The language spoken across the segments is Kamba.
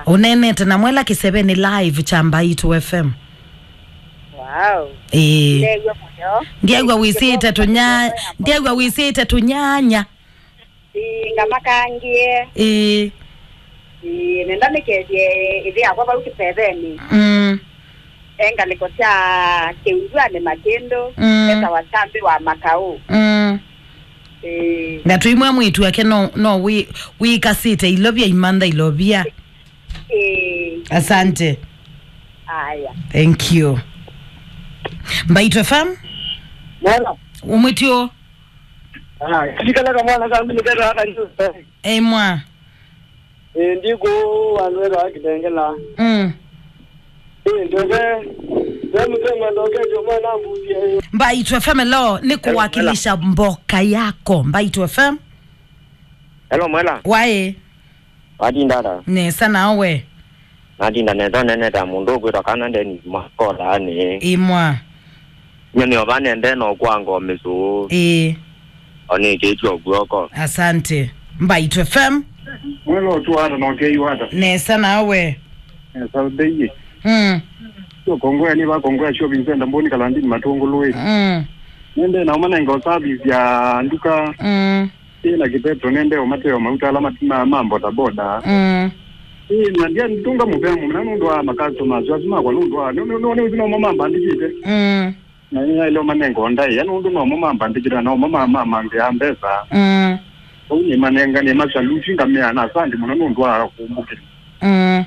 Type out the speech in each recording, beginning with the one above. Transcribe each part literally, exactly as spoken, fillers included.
Ũneenete na Mwela kĩsevenĩ live kya Mbaitu F M. Wow. Ĩĩ. Ndeew'a mũyo. Ndiew'a wĩsĩte tũnya-, ndiew'a wĩsĩte tũnyanya. Ĩĩ, ngamakangie. Ĩĩ. Ĩĩ, nenda nĩkethie ĩthĩ yakwa vau kĩsevenĩ. Mm. E ngalĩko sya Kĩunduanĩ Makĩndũ, mm, etawa Kyambi wa Makaũ. Mm. Ĩĩ. Na tũimwe mwĩĩtu wake no, no wĩ-, wĩkasĩte ilovia imantha ilovia. Ĩĩ. Asante. Aya. Thank you. Mbaitu F M? Mwana. Umwĩtyo? Ah, kilikalaka mwana kambi nikera haka ndio. Ei mwa. Eh, ndiko wandu wera akitengela. Mm. Eh, ndio. Wewe mzee mwandoke ndio mwana mbuzi. Mbaitu F M, hello, ni kuwakilisha mboka yako. Mbaitu F M? Hello, Mwela. Waĩ? Watinda ata? Nesa nawe? Natinda nesa, nene ta mũndũ ũkwĩtwa kana Dennis Makola, nĩ. Imwa. Nye nĩ ova nende no kwanga o mĩsũũ. Ĩĩ. O nĩkĩtio guoko. Asante. Mbaitu F M. Mwela ũtu ata na ũkei wata? Nesa nawe? Nesa ndeiye. Mm. Sio kongoya ni ba kongoya shopping center mboni kalandini matungului. Mm. Nende na umanenga service ya nduka. Mm. Ĩĩ, na kĩpetro nende ũmateo mauta ala mat-, ma, ma bodaboda. Mm. Ĩĩ, na ndia ntunga mũvea mũmena nũndũ wa ma customers asu makwa nũndũ wa, nũ-, nũ-, nũ-, nũ-, nũmo mambandĩkĩte. Mm. Na nĩ naĩle ũmanenga ndaĩa nũndũ nomo mambandĩkĩte na nomo ma, ma, mambĩa mbesa. Mm. Ũu nĩmanenga, nĩmasaluti ngamea na asante mũno nũndũ wa kũmbũkĩra. Mm.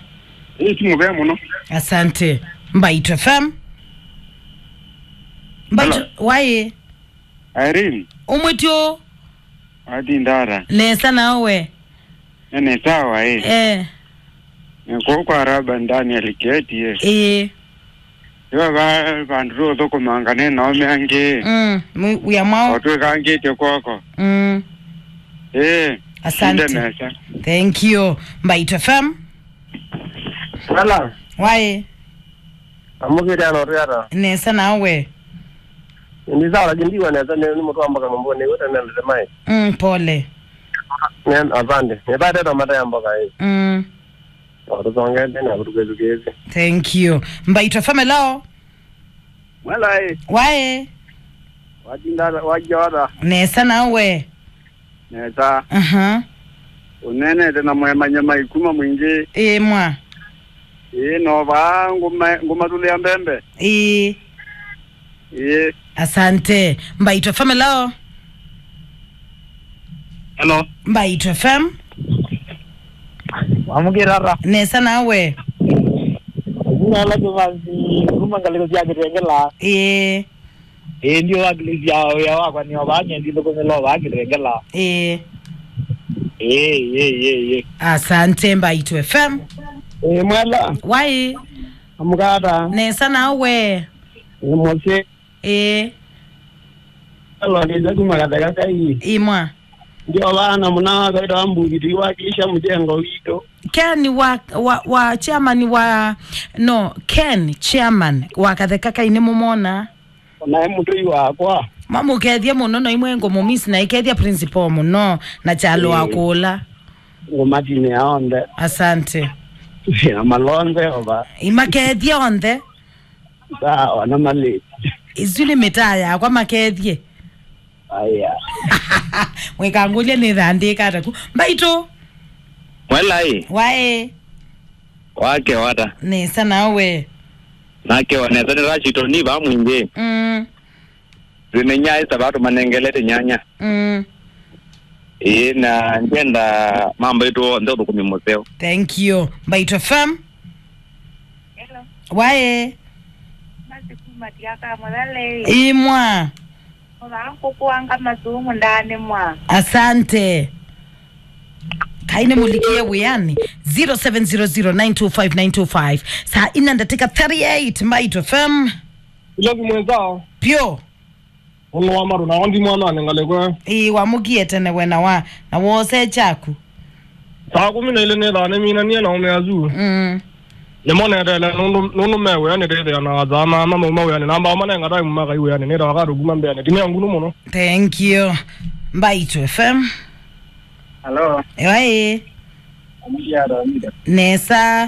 Ĩĩ, ti mũvea mũno. Asante. Mbaitu F M. Mbaitu, hello. Waĩ? Irene. Umwĩtyo? Watinda ata? Nesa nawe? Nĩ sawa, eh. Eh. Nĩ kũu kwa Raba Daniel Keti, eh. Eh. Yo ba, vandũ tũthũkũmanga nĩ naome angĩ. Mm, mu-, wĩa mwao. O twĩkangĩte kwoko. Mm. Eh. Asante. Nde nesa. Thank you. Mbaitu F M. Hello. Waĩ? Amũkĩte ano twĩ ata? Nesa nawe? Ndi sawa, lakini ndiwa nesa, nĩ, nĩ mũtũ wa mboka mũmbũ, nĩ wĩta nendete mai. Mm, pole. Nĩ, asante. Nĩ pate to mata ya mboka, eh. Mm. O, tũsongete na kũtukĩtukĩte. Thank you. Mbaitu F M, hello? Mwela, eh. Waĩ? Watinda, waja wata? Nesa nawe? Nesa. Aha. Ũneenete na mwemanya mai kuma mwingĩ. Ĩĩ mwa. Ĩĩ, no vaa ngũma-, ngũmatulĩa mbembe. Ĩĩ. Ĩĩ. Asante. Mbaitu F M, hello. Hello. Mbaitu F M. Wamũkĩra ata? Nesa nawe? Jina la Thomas, kuma ngalĩko sya Kĩtengela. Ĩĩ. Ĩĩ, ndio wakilisia wĩa wakwa nĩ ovaa nyendi thũkũmĩla ovaa Kĩtengela. Ĩĩ. Ĩĩ, ĩĩ, ĩĩ, ĩĩ. Asante, Mbaitu F M. Ĩĩ, Mwela. Waĩ? Amũkata. Nesa nawe? Nĩ mũsyĩ. Ĩĩ. Alondĩte kuma Katheka Kai. Imwa. Ndio vana mũna wakaita wa mbuthi tũiwakilisha mjengo witũ. Ken wa, wa, wa chairman wa, no, Ken chairman wa Katheka Kai nĩ mũmona? Nae mũtũi wakwa. Mamũkethie mũno, no imwe ngũmũmiss na ikethia principal mũno na kyalo wa kũla. Ngũmatinĩa onthe. Asante. Na malonze ova. Imakethie onthe. Sawa, na malĩ. Isu nĩ mĩtaa yakwa makethie. Aya. Mwĩkangũlya nĩthandĩka ataku. Mbaitu. Mwela ĩ. Waĩ. Wake wata. Nesa nawe. Nake wa nesa nĩ Rashid Oni va mwingĩ. Mm. Zimenya esa vatu manengelete nyanya. Mm. Ĩĩ, na ngenda mambo itu onthe ũthũkũmi mũseo. Thank you. Mbaitu F M. Hello. Waĩ. Masi kuma tiaka mũthale. Imwa. Ola kũkũanga masumu ndani mwa. Asante. Kaine mũlikie wĩanĩ. Zero seven zero zero nine two five nine two five. Saa ina ndatĩka thirty-eight, Mbaitu F M. Ilovi mwenzao. Pio. Ũno wa maru na ondi mwana ngalekwe. Ĩĩ, wamũkie tene we na wa, na wose kyaku. Saa kũmi na ilĩ nĩthaa nĩminanie na ũme asu. Mm. Nĩmonetele nũndũ, nũndũ me wĩanĩ ndĩthĩa na athama ama mauma wĩanĩ namba manenga time makai wĩanĩ nĩthaa wakatũkuma mbĩanĩ. Tinea ngunu mũno. Thank you. Mbaitu F M. Hello. Ewa ĩ. Nesa.